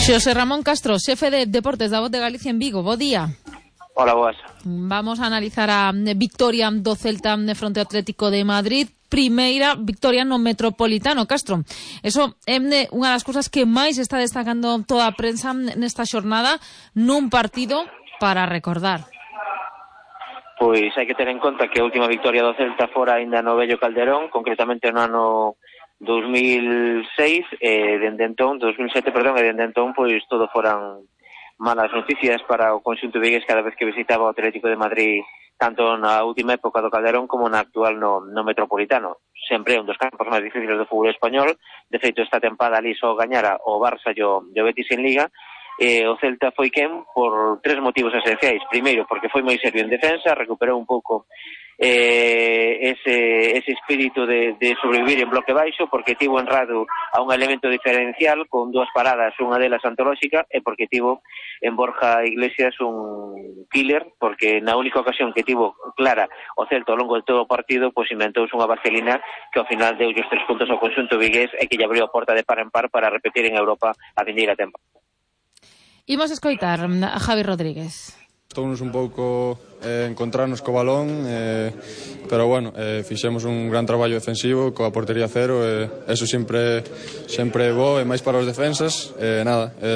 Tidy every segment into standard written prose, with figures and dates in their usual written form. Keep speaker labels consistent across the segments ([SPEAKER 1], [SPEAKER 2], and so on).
[SPEAKER 1] Xosé Ramón Castro, xefe de Deportes da Voz de Galicia en Vigo. Bo día.
[SPEAKER 2] Hola, boas.
[SPEAKER 1] Vamos a analizar a victoria do Celta fronte ao Atlético de Madrid. Primeira victoria no Metropolitano, Castro. Eso é unha das cousas que máis está destacando toda a prensa nesta xornada, nun partido para recordar.
[SPEAKER 2] Pois hai que ter en conta que a última victoria do Celta fora aínda no vello Calderón, concretamente no ano 2006, dende entón, 2007, perdón, e dende entón, pois todo foran malas noticias para o conxunto vigués cada vez que visitaba o Atlético de Madrid, tanto na última época do Calderón como na actual no Metropolitano. Sempre é un dos campos máis difíciles do fútbol español. De feito, esta tempada ali só gañara o Barça e o Betis en Liga. O Celta foi quen por tres motivos esenciais. Primeiro, porque foi moi serio en defensa, recuperou un pouco ese espírito de sobrevivir en bloque baixo, porque tivo en Radu a un elemento diferencial con dúas paradas, unha delas antolóxica, e porque tivo en Borja Iglesias un killer, porque na única ocasión que tivo clara o Celta ao longo de todo o partido, pois inventouse unha vaselina que ao final deu os 3 puntos ao conxunto vigués e que lle abriu a porta de par en par para repetir en Europa a vindeira temporada.
[SPEAKER 1] Imos escoitar a Javi Rodríguez.
[SPEAKER 3] Estounos un pouco encontrarnos co balón, pero bueno, fixemos un gran traballo defensivo coa portería cero, eso sempre é bo, e máis para os defensas,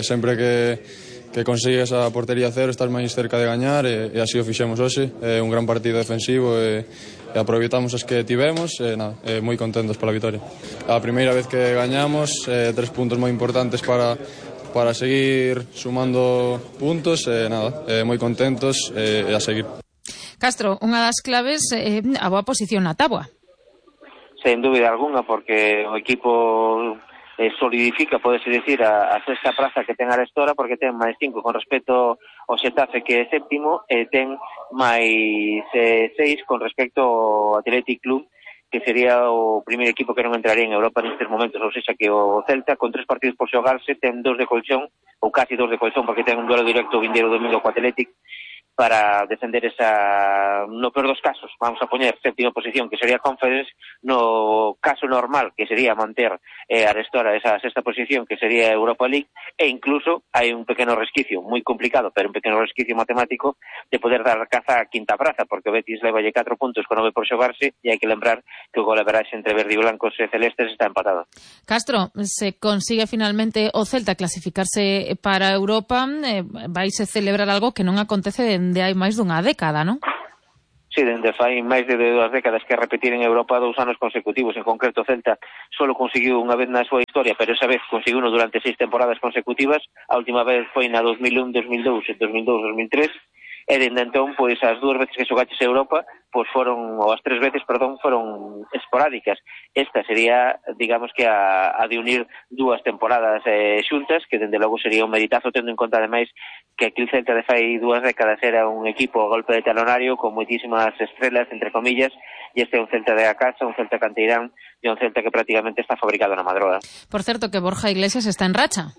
[SPEAKER 3] sempre que consigues a portería cero estás máis cerca de gañar, e así o fixemos hoxe. Un gran partido defensivo e aproveitamos as que tivemos, moi contentos pola vitoria. A primeira vez que gañamos, 3 puntos moi importantes para seguir sumando puntos, moi contentos, e a seguir.
[SPEAKER 1] Castro, unha das claves é a boa posición na táboa.
[SPEAKER 2] Sen dúbida alguna, porque o equipo solidifica, podese dicir, a sexta praza que ten arestora, porque ten máis 5 con respecto ao Xetafe, que é séptimo, e ten máis 6 con respecto ao Athletic Club, que sería o primeiro equipo que non entraría en Europa nestes momentos. Ou seja, que o Celta, con 3 partidos por xogarse, ten 2 de colchón, ou casi 2 de colchón, porque ten un duelo directo o vindeiro domingo co Athletic, para defender esa, no peor dos casos, vamos a poñer séptima posición, que sería Conference, no caso normal, que sería manter arestora esa sexta posición, que sería Europa League, e incluso hai un pequeno resquicio, moi complicado, pero un pequeno resquicio matemático, de poder dar caza a quinta praza, porque o Betis levalle 4 puntos con 9 por xogarse, e hai que lembrar que o golaveraxe entre verde e blancos e celestes está empatado.
[SPEAKER 1] Castro, se consigue finalmente o Celta clasificarse para Europa, vais a celebrar algo que non acontece de hai máis dunha década, non?
[SPEAKER 2] Sí, dende fai máis de 2 décadas que repetir en Europa 2 anos consecutivos. En concreto, Celta solo conseguiu unha vez na súa historia, pero esa vez conseguiu durante 6 temporadas consecutivas. A última vez foi na 2001, 2002 e 2002, 2003. E dende entón, pois, as 2 veces que xogaches a Europa, pois foron, ou as 3 veces, perdón, foron esporádicas. Esta sería, digamos que a de unir 2 temporadas xuntas, que dende logo sería un meditazo, tendo en conta, ademais, que aquí o Celta de fai 2 décadas era un equipo a golpe de talonario, con moitísimas estrelas, entre comillas, e este é un Celta de a casa, un Celta canteirán, e un Celta que prácticamente está fabricado na Madroa.
[SPEAKER 1] Por certo, que Borja Iglesias está en racha.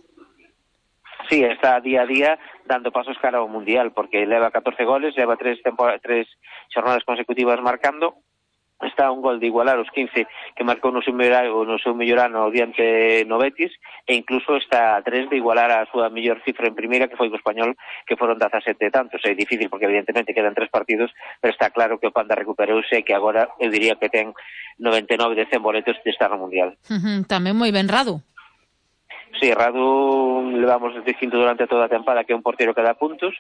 [SPEAKER 2] Sí, está día a día dando pasos cara ao Mundial, porque leva 14 goles, leva 3 xornadas consecutivas marcando, está a un gol de igualar os 15 que marcou no seu mellor ano diante no Betis, e incluso está a 3 de igualar a súa mellor cifra en primeira, que foi co Español, que foron 17 tantos. É difícil porque evidentemente quedan 3 partidos, pero está claro que o Panda recuperouse e que agora eu diría que ten 99 de 100 boletos de estar no Mundial.
[SPEAKER 1] Tamén moi ben Radu.
[SPEAKER 2] Sí, Radu levamos dicindo durante toda a tempada que é un portero que dá puntos.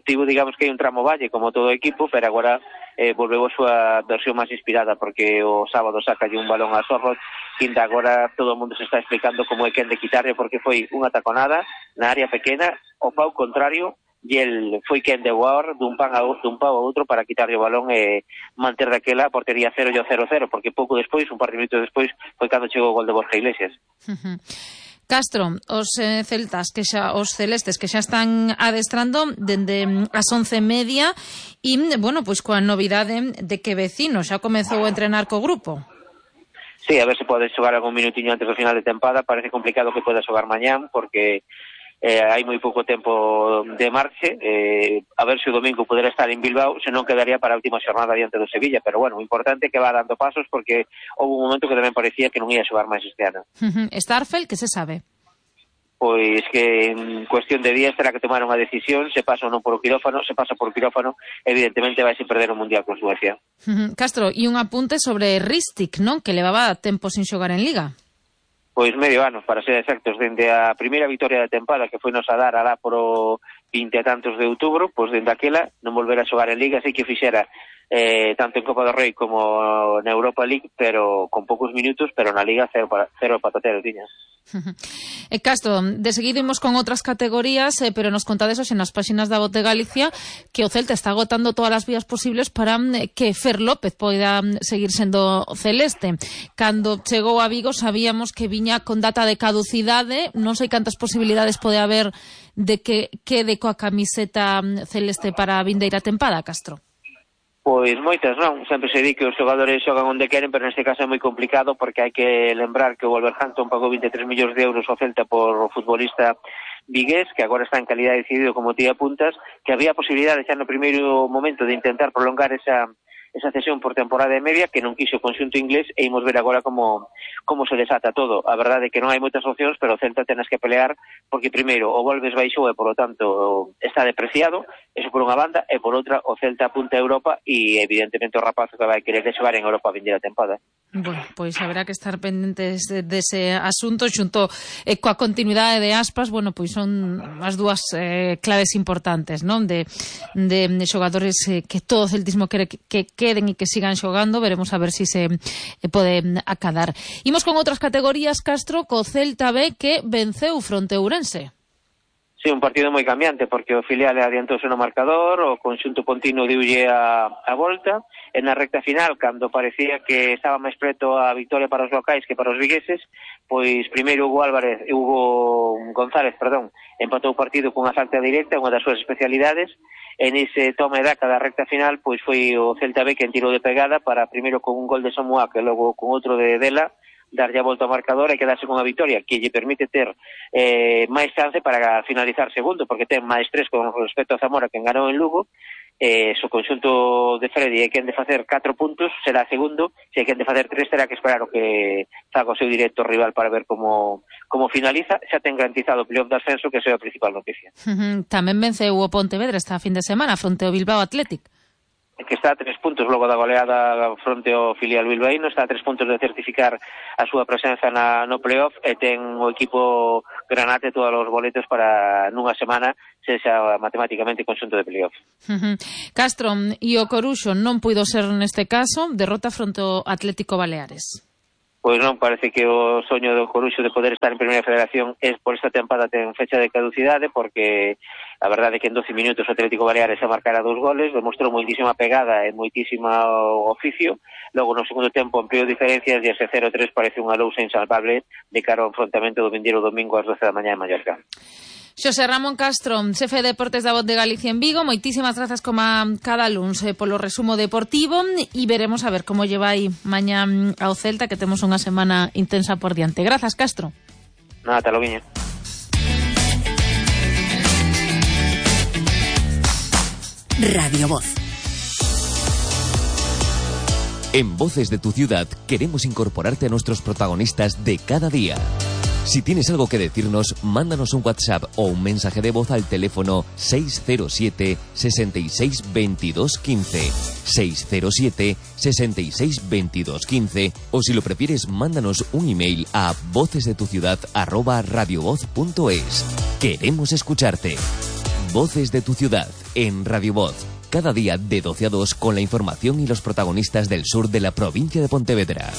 [SPEAKER 2] Tivo, digamos que hai un tramo valle como todo o equipo, pero agora volveu a súa versión máis inspirada, porque o sábado sacalle un balón a Sorrot, que agora todo o mundo se está explicando como é quen de quitarle, porque foi unha taconada na área pequena, o pau contrario, e el foi quen de voar dun pau a outro para quitarlle o balón e manter daquela a portería 0 e o 0-0, porque pouco despois, un par de minutos despois, foi cando chegou o gol de Borja Iglesias.
[SPEAKER 1] Castro, os celestes que xa están adestrando dende as 11:30 e, bueno, pois coa novidade de que Vecino xa comezou a entrenar co grupo.
[SPEAKER 2] Sí, a ver se pode xogar algún minutiño antes do final de tempada. Parece complicado que poda xogar mañán, porque hai moi pouco tempo de marche, a ver se o domingo poderá estar en Bilbao, se non quedaría para a última xornada diante do Sevilla, pero bueno, o importante é que va dando pasos, porque houve un momento que tamén parecía que non ia xogar máis este ano.
[SPEAKER 1] Starfelt, que se sabe?
[SPEAKER 2] pois que en cuestión de días terá que tomar unha decisión, se pasa ou non por o quirófano, se pasa por o quirófano, evidentemente vai se perder o Mundial con Suecia.
[SPEAKER 1] Castro, e un apunte sobre Ristic, non? Que levaba tempo sin xogar en Liga.
[SPEAKER 2] Pois medio ano, para ser exactos, dende a primeira vitoria da tempada que foi nos a dar alá por o 20 e tantos de outubro, pois dende aquela non volver a xogar en Liga, así que fixera tanto en Copa do Rei como na Europa League, pero con poucos minutos, pero na Liga cero patatero tiñas.
[SPEAKER 1] Castro, de seguido imos con outras categorías, pero nos contades hoxe nas páxinas da Voz de Galicia que o Celta está agotando todas as vías posibles para que Fer López poida seguir sendo celeste. Cando chegou a Vigo sabíamos que viña con data de caducidade, non sei cantas posibilidades pode haber de que quede coa camiseta celeste para a vindeira tempada, Castro.
[SPEAKER 2] Pois moitas non, sempre se di que os xogadores xogan onde queren, pero neste caso é moi complicado porque hai que lembrar que o Wolverhampton pagou 23 millóns de euros ao Celta por o futbolista vigués, que agora está en calidad decidido como tía puntas, que había posibilidade xa no primeiro momento de intentar prolongar esa cesión por temporada e media, que non quixo o conxunto inglés, e imos ver agora como se desata todo. A verdade é que non hai moitas opcións, pero o Celta tenas que pelear, porque primeiro o Volves baixou e, por lo tanto, está depreciado, eso por unha banda, e por outra o Celta apunta a Europa e, evidentemente, o rapazo que vai querer xogar en Europa a vindeira tempada.
[SPEAKER 1] Bueno, pois haberá que estar pendentes dese asunto xunto coa continuidade de Aspas. Bueno, pois son as dúas claves importantes, non? De xogadores que todo o celtismo quere que queden e que sigan xogando. Veremos a ver se pode acadar. Imos con outras categorías, Castro, co Celta B que venceu fronte Ourense.
[SPEAKER 2] Sí, un partido moi cambiante, porque o filial adiantouse no marcador, o conxunto pontino diulle a volta, e na recta final, cando parecía que estaba máis preto a victoria para os locais que para os vigueses, pois primeiro Hugo González, empatou o partido cunha falta directa, unha das súas especialidades, e nese toma e daca da recta final, pois foi o Celta B quen tirou de pegada para primeiro con un gol de Samuá, que logo con outro de Dela, darlle a volta ao marcador e quedarse con a victoria que lle permite ter máis chance para finalizar segundo, porque ten máis 3 con respecto a Zamora que ganou en Lugo. O conxunto de Freddy é quen de facer 4 puntos, será segundo, se é quen de facer 3 terá que esperar o que faga o seu directo rival para ver como finaliza. Xa ten garantizado o playoff de ascenso, que é a principal noticia.
[SPEAKER 1] Tamén venceu o Pontevedra esta fin de semana fronte ao Bilbao Athletic,
[SPEAKER 2] que está a 3 puntos logo da goleada fronte ao filial bilbaíno, está a 3 puntos de certificar a súa presenza no playoff, e ten o equipo granate todos os boletos para nunha semana se xa matemáticamente conxunto de playoff.
[SPEAKER 1] Castro, e o Coruxo non puido ser neste caso, derrota fronte ao Atlético Baleares.
[SPEAKER 2] Pois non, parece que o soño do Coruxo de poder estar en Primeira Federación por esta tempada ten fecha de caducidade, porque a verdade é que en 12 minutos o Atlético Baleares a marcara 2 goles, demostrou moitísima pegada e moitísima oficio, logo no segundo tempo ampliou diferencias e ese 0-3 parece unha lousa insalvable de cara ao enfrontamento do vindeiro domingo ás 12 da mañá en Mallorca.
[SPEAKER 1] Xosé Ramón Castro, xefe de Deportes da Voz de Galicia en Vigo, moitísimas grazas como cada luns polo resumo deportivo, e veremos a ver como lle vai mañá ao Celta, que temos unha semana intensa por diante. Grazas, Castro.
[SPEAKER 2] Nada, te lo guiño.
[SPEAKER 4] Radio Voz. En Voces de tu Ciudad queremos incorporarte a nuestros protagonistas de cada día. Si tienes algo que decirnos, mándanos un WhatsApp o un mensaje de voz al teléfono 607 66 22 15, 607 66 22 15, o si lo prefieres, mándanos un email a vocesdetuciudad@radiovoz.es. Queremos escucharte. Voces de tu Ciudad en Radio Voz, cada día de 12 a 2 con la información y los protagonistas del sur de la provincia de Pontevedra.